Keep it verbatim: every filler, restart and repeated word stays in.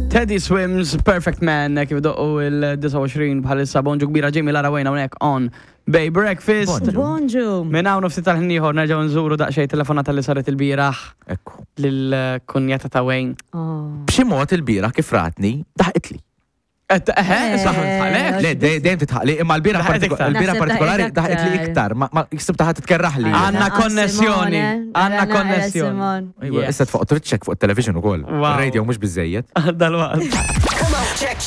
Teddy Swims, Perfect Man, kif doqqu il-disgħa u għoxrin bħalissa. Bonġu kbira, Jamie, Lara, Wayne hawnhekk on Bay Breakfast. Bonġu. Bonġu. Minn hawn ftit tal-ħin ieħor nerġgħu nżuru daqsxejn telefonata li saret il-bieraħ Ekku. lill-kunjata ta' Wayne. Oh. B'xi mod il-bieraħ kif ratni, daħqitli. Eh, eh, saħ tħalek? Le, dej- dejjem titħaqli, imma l-bieraħ Daħqet partiku- iktar. l-bieraħ Naħseb partikolari daħqet daħqitli aktar. iktar, ma ma ksibta ħadd titkerraħli. Għanna Naqqa konnessjoni. Simone, Għanna naqra konnessjoni. Simone. Ejwa, Yes. issa tfuq trid check fuq il-television ukoll. Wow. Radio mhux biżejjed. Dal-waqt. Come on, check,